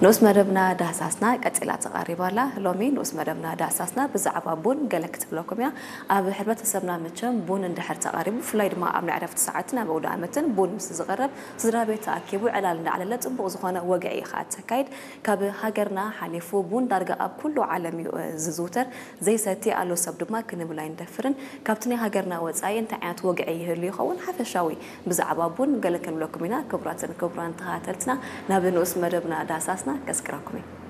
ንኡስ መደብና ዳህሳስና ቀጺላ ተቓሪባ ኣላ። ሎሚ ንኡስ መደብና ዳህሳስና ብዛዕባ ቡን ገለ ክትብለኩም እያ። ኣብ ሕብረተሰብና መቸም ቡን እንድሕር ተቓሪቡ፣ ብፍላይ ድማ ኣብ ናይ ዕረፍቲ ሰዓትን ኣብ ኣውደ ዓመትን ቡን ምስ ዝቐረብ፣ ስድራ ቤት ተኣኪቡ ዕላል እንዳዕለለ ጽቡቕ ዝኾነ ወግዒ ኢኻ ተካይድ። ካብ ሃገርና ሓሊፉ ቡን ዳርጋ ኣብ ኩሉ ዓለም እዩ ዝዝውተር። ዘይሰቲ ኣሎ ሰብ ድማ ክንብል ኣይንደፍርን። ካብቲ ናይ ሃገርና ወጻኢ እንታይ ዓይነት ወግዒ ይህሉ ይኸውን? ሓፈሻዊ ብዛዕባ ቡን ገለ ክንብለኩም ኢና። ክቡራትን ክቡራን ተኸታተልትና፣ ናብ ንኡስ መደብና ዳህሳስና ከስግረኩም እየ።